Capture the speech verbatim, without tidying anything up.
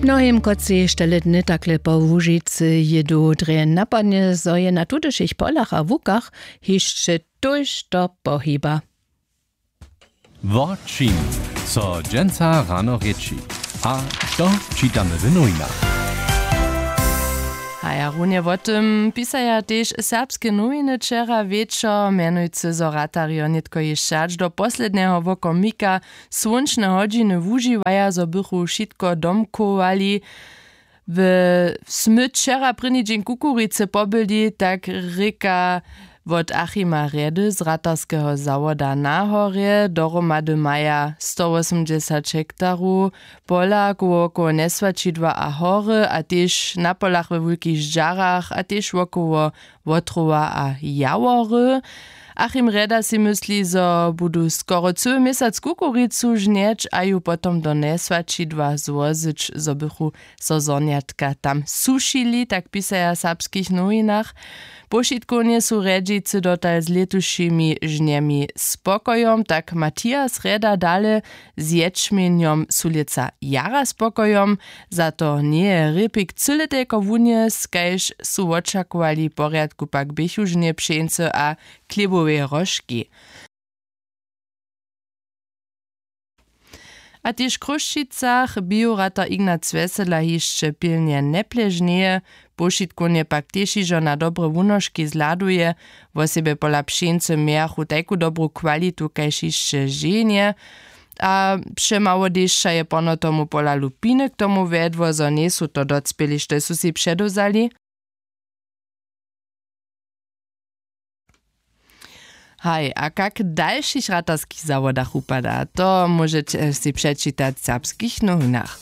Mnohim, kotřiž tele dny takle po Łužicy jědu, drje napadnje, zo je na tutešich polach a łukach hišće tójšto pohiba. Wo čim so dźensa rano rěči a što čitamy w nowinach? A ja runje wo tym pisaja tež serbske nowiny wčera wječor, mjenujcy zo ratarjo nětko hišće hač do posledneho wokomika słónčne hodźiny wužiwaja, zo bychu wšitko domkowali. W smy wčera prěni dźeń kukuricy pobyli, tak rěka wot Achima Rjedy z ratarskeho zawoda na horje. Dohromady maja stowosomdźesać hektarow pola koło wokoło njeswaćidła a hory a tež na polach we wulkich ždźarach a tež wokoło wotrowa a jawory. Achim Rjeda sej mysli, zo budu skoro cyły měsac kukuricu žnjeć a ju potom do njeswaćidła złozyć, zo bychu so zhonjatka tam sušili, tak pisaja w serbskich nowinach. Powšitkownje su rjedźicy dotal z lětušimi žnjemi spokojom, tak Matias Rjeda dale. Z ječmjenjom su lětsa jara spokojom. Za to njeje rěpik cyle telko wunjes, kaž su wočakowali, w porjadku pak běchu žnje pšeńcy a chlěboweje róžki. A tež w Chrósćicach bijoratar Ignac Wjesela hišće pilnje njepležnjeje. Powšitkownje pak tež hižo na dobre wunožki zhladuje. Wosebje pola pšeńcy mějachu tajku dobru kwalitu kaž hišće ženje. A přemało dešća je pono tomu pola lupiny k tomu wjedło, zo njejsu to docpěli štož su sej předewzali. Haj, a kak w dalšich ratarskich zawodach wupada, to móžeće sej přečitać w serbskich nowinach.